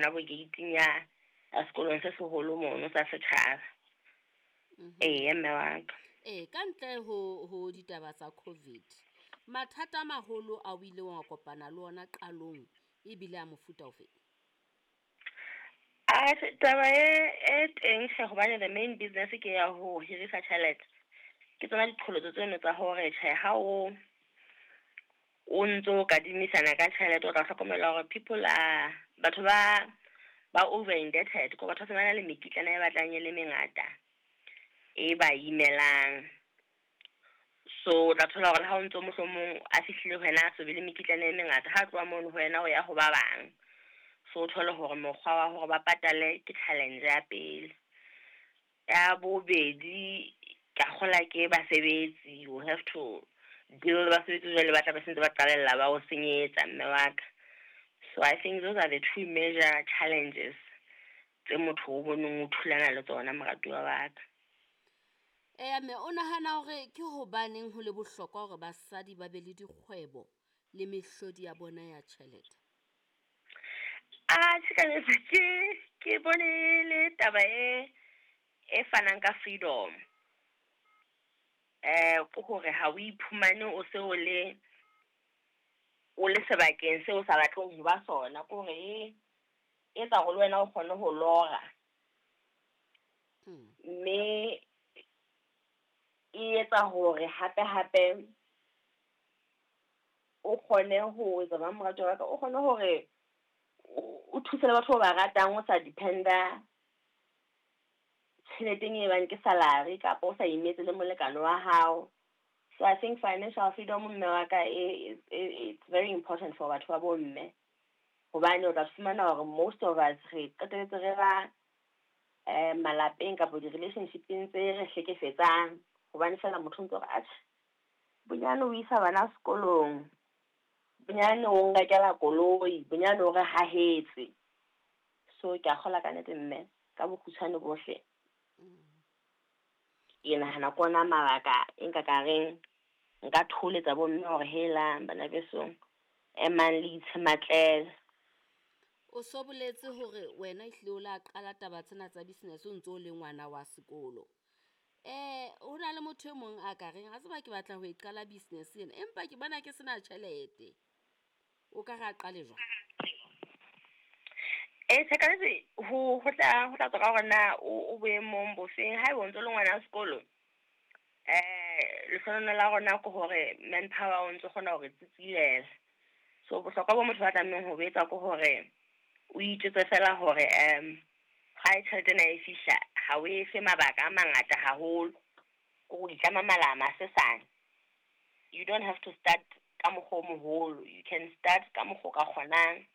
hona bo gate-ing ya sekolong se seholo mono sa setjhaba. Eya mme wa ka. Ee, ka ntle ho ditaba tsa COVID, mathata a maholo a o ileng wa kopana le ona qalong ebile a mofuta ofe? Atjhe, taba e teng tjhe hobane the main business ke ya ho hirisa tjhelete. Ke tsona diqholotso tseno tsa hore tjhe ha o ntso kadimisana ka tjhelete, o tla hlokomela hore people are batho ba over indebted. Ko batho ba se ba na le mekitlana e batlang e le mengata e ba imelang. So o tla thola hore le ha o ntso mohlomong a fihlile ho wena a so be le mekitlane e mengata, ha tloha mono ho wena o ya ho ba bang. So o thole hore mokgwa wa hore ba patale ke challenge ya pele. Ya bobedi, ka kgola ke basebetsi, you have to deal le basebetsi jwale ba tla be sentse ba qalella ba o senyetsa mme wa ka. So I think those are the two major challenges tse motho o boneng o thulana le tsona moratuwa wa ka. Eya mme, o nahana hore ke hobaneng ho le bohlokwa hore basadi ba be le dikgwebo le mehlodi ya bona ya tjhelete? Atjhe ka nnete ke bone le taba e fanang ka freedom. Ke hore ha o iphumane o se o le o le sebakeng seo o sa batleng ho ba sona. Ke hore e etsa hore le wena o kgone ho lora. Mme e etsa hore hape hape o kgone ho etsa jwang moratuwa wa ka, o kgone hore o thuse le batho ba ratang, o sa depend-a tjheleteng e bang ke salary kapa o sa imetse le molekane wa hao. So I think financial freedom mme wa ka it's very important for batho ba bo mme. Hobane o tla fumana hore most of us re qetelletse re ba malapeng kapa di-relationship-eng tse re hlekefetsang. Hobane fela motho o ntso re atjhe bonyane o isa bana sekolong, bonyane o nrekela koloi, bonyane o re hahetse. So ke a kgolwa ka nnete mme ka bokgutshwane bohle. Ke nahana ke ona mabaka e nka ka reng nka thoholetsa bo mme hore helang bana besong emang le itshematlele. O so boletse hore wena ehlile o la qala taba tsena tsa business o ntso le ngwana wa sekolo. Ho na le motho e mong a ka reng a tseba ke batla ho e qala business ena, empa ke bona ke sena tjhelete. O ka re a qale jwang? Ee, tjhe ka nnete ho tla tswa ka hore na o boemong bofeng. Haeba o ntso le ngwana sekolo, lehlohonolo la rona ke hore manpower o ntso kgona hore tsitsilela. So bohlokwa bo motho ba tlamehang ho etsa ke hore o itjwetse fela hore ha tjhelete ena e fihla ha o efe mabaka a mangata haholo. Ko itlama malama a sesane. You don't have to start ka mokgwa o moholo, you can start ka mokgwa o ka kgonang.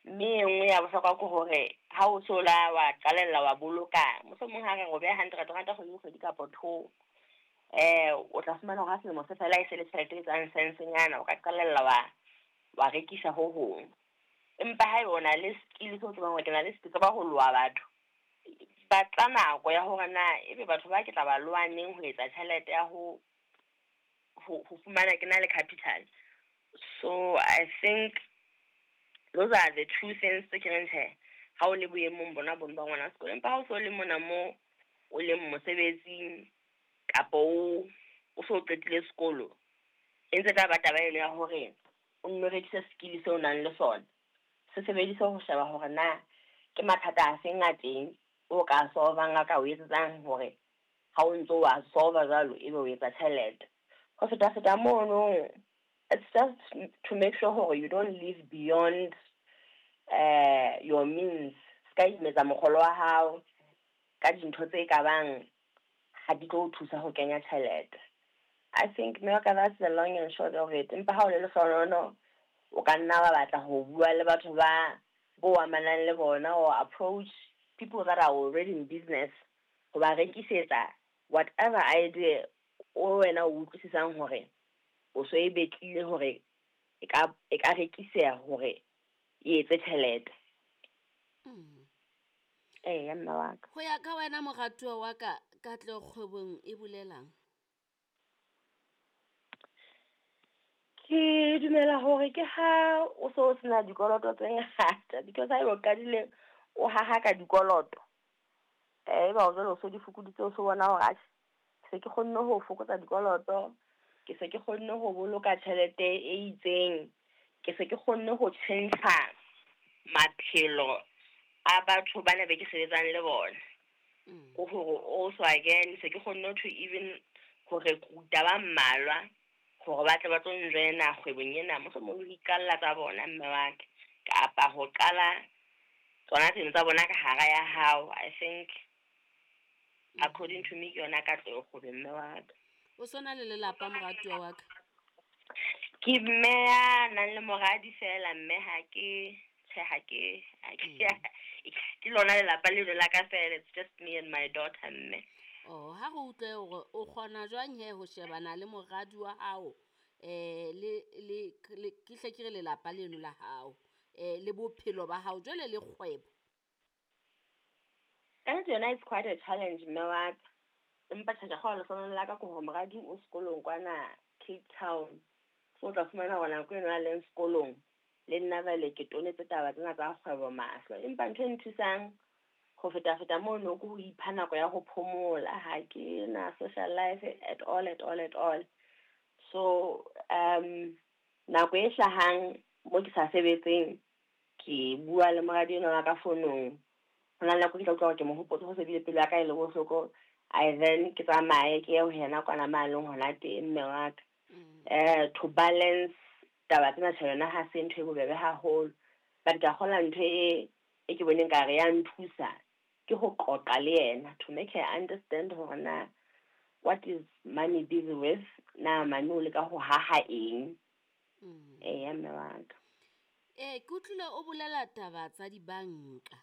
Mme e nngwe ya bohlokwa ke hore ha o so la wa qalella wa boloka, mohlomong ha re re o beha hundred ranta kgwedi le kgwedi kapa two, o tla fumana hore ha selemo se fela e se le tjhelete e etsang sense-nyana, o ka qalella wa rekisa ho hong. Empa haeba o na le skill seo tsebang hore ke na le ke tseba ho loha batho, batla nako ya hore na ebe batho ba ke tla ba loha neng ho etsa tjhelete ya ho fumana ke na le capital. So I think those are the two things tse ke reng tjhe ha o le boemong bona bono ba ngwana sekolo. Empa ha o so le mona mo o leng mosebetsing kapa o so qetile sekolo, e ntse tla ba taba eno ya hore o nno rekise skill seo o nang le sona. Se sebedise ho sheba hore na ke mathata a feng a teng o ka solvang a ka o etsetsang hore ha o ntso wa solve jwalo ebe o etsa tjhelete. Ho feta mono, it's just to make sure hore you don't live beyond your means. Ska imetsa mokgolo wa hao ka dintho tse ka bang ha di tlo o thusa ho kenya tjhelete. I think mme wa ka that's the long and short of it. Empa ha o le lehlohonolo o ka nna wa batla ho bua le batho ba bo amanang le bona or approach people that are already in business ho ba rekisetsa whatever idea o wena o utlwisisang hore o so e betlile hore e ka rekiseha hore e etse tjhelete. Eya mme wa ka. Ho ya ka wena moratuwa wa ka, katleho kgwebong e bolelang? Ke Ke dumela hore ke ha o so sena dikoloto tse ngata, because ha eba o qadile o haha ka dikoloto, eba o jwale o so di fokoditse, o so bona hore atjhe, se ke kgonne ho fokotsa dikoloto, ke se ke kgonne ho boloka tjhelete e itseng, ke se ke kgonne ho tjhentjha maphelo a batho bana be ke sebetsang le bona. Ko hore also again se ke kgonne to even ho recruit-a ba mmalwa hore ba tle ba tlo njoina kgwebong ena, mohlomong le ho iqalla tsa bona mme wa ka, kapa ho qala tsona tseno tsa bona ka hara ya hao. I think according to me ke yona katleho kgwebong, mme wa ka. O so na le lelapa, moratuwa wa ka? Ke mme ya nang le moradi fela, mme ha ke tjhe, ha ke ke lona lelapa leno la ka fela. It's just me and my daughter, mme. Oh, ha re utlwe hore o kgona jwang he ho shebana le moradi wa hao, le ke hle ke re lelapa leno la hao, le bophelo ba hao jwale le kgwebo. Ka nnete yona it's quite a challenge, mme wa ka. Empa tjhe, ke kgolwa lehlohonolo la ka ke hore moradi o sekolong kwana Cape Town. So o tla fumana hore nako eno a leng sekolong le nna jwale ke tonetse taba tsena tsa kgwebo mahlo. Empa ntho e nthusang ho feta-feta mono ke ho ipha nako ya ho phomola. Ha ke na social life at all, at all, at all. So nako e hlahang mo ke sa sebetseng, ke bua le moradi enwa wa ka fonong. Ho na le nako ke tla utlwa hore ke mo hopotse ho se bile pelo ya ka e le bohloko. I then ke tsamaye ke ye ho yena kwana ma leng hona teng, mme wa ka. To balance taba tsena, tjhe, yona ha se ntho e bobebe haholo. But ke a kgolwa ntho e ke boneng ka re ya nthusa ke ho qoqa le yena, to make her understand hore na what is mommy busy with, na mami o leka ho haha eng. Eya, mme wa ka. Ke utlwile o bolela taba tsa dibanka.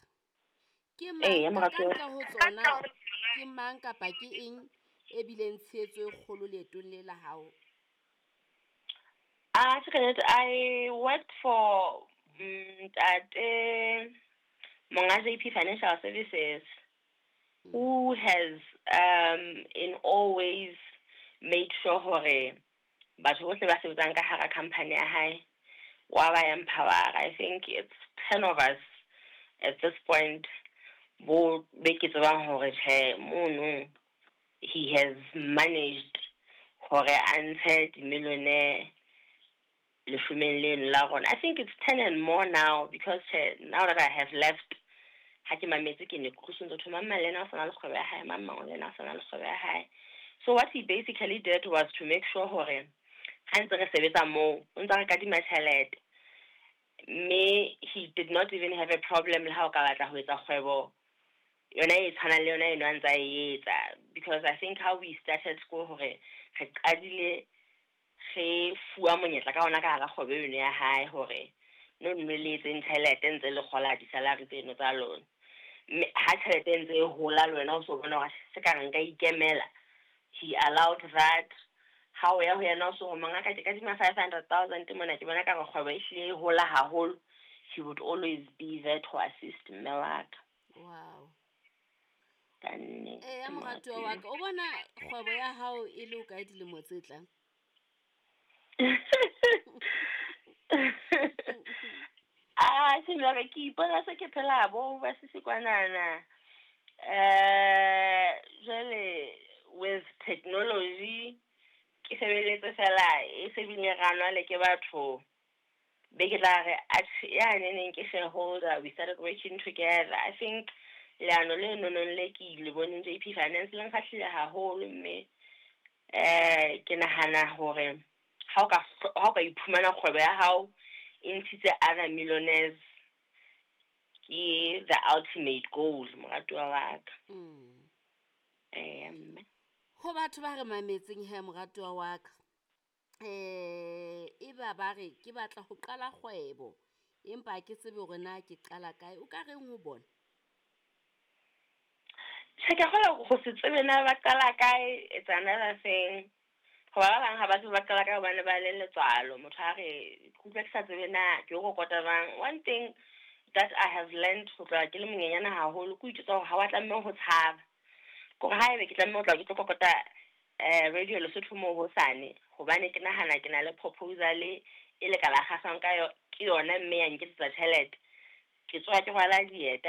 Ke Eya, mang ka moratuwa. ntle ho tsona, ke mang kapa ke eng e bileng tshehetso e kgolo leetong le la hao? Ah, tjhe, ka nnete, I worked for ntate monga JP Financial Services, who has in all ways made sure hore batho bohle ba sebetsang ka hara company ya hae wa ba empower. I think it's 10 of us at this point bo be ke tsebang hore tjhe, mono he has managed hore a ntshe di-millionaire leshomeng leno la rona. I think it's 10 and more now, because tjhe, now that I have left, ha ke mametse ke ne ke utlwisitse ho thwe mang le yena o sa na le kgwebo ya hae, mang mang le yena o sa na le kgwebo ya hae. So what he basically did was to make sure hore ha ntse re sebetsa moo, o ntsa re kadima tjhelete. Mme he did not even have a problem le ha o ka batla ho etsa kgwebo yona e tshwanang le yona eno a ntsa e etsa. Because I think how we started school, hore re qadile re fuwa monyetla ka ona ka hara kgwebo eno ya hae hore no nno le etseng tjhelete ntse le kgola di-salary tseno tsa lona. Mme ha tjhelete e ntse e hola le wena o so bona hore se ka re nka ikemela, he allowed that. Ha o ya ho yena o so ho mongaka, ke kadima 500,000 mona, ke bona ka re kgwebo e hlile e hola haholo, he would always be there to assist, mme wa ka. Wow. Ka nnete, Eya, moratuwa wa moratuwa. ka, o bona kgwebo ya hao e le hokae dilemo tse tlang? Ah, tjhe, mme ke ipona se ke phela bo ba sisi kwanana. Jwale with technology ke sebeletse fela e se bile ranwa le ke batho be ke tla re atjhe, ya neneng ke shareholder, we started working together. I think leano le nonong le ke le boneng JP Finance le nkgahlile haholo, mme ke nahana hore ha o ka iphumana kgwebo ya hao e ntshitse other millionaires, ke the ultimate goal, moratuwa wa ka. Eya, mme. Ho batho ba re mametseng he, moratuwa wa ka, e ba ba re ke batla ho qala kgwebo empa ha ke tsebe hore na ke qala kae, o ka reng ho bona? Tjhe, ke a kgolwa ho se tsebe na ba qala kae, it's another thing. Hoba ba bang ha ba tsebe ba qala kae hobane ba le letswalo. Motho a re, ke utlwa ke sa tsebe na ke o kokota jwang. One thing that I have learned ho tloha ke le monyenyane haholo ke ho itjwetsa hore ha wa tlameha ho tshaba. Kore haebe ke tlameha ho tla ke tlo kokota Radio Lesotho moo hosane, hobane ke nahana ke na le proposal e le ka la kgahlwang ka ke yona, mme ya nketsetsa tjhelete. Ke tsoha ke rwala dieta.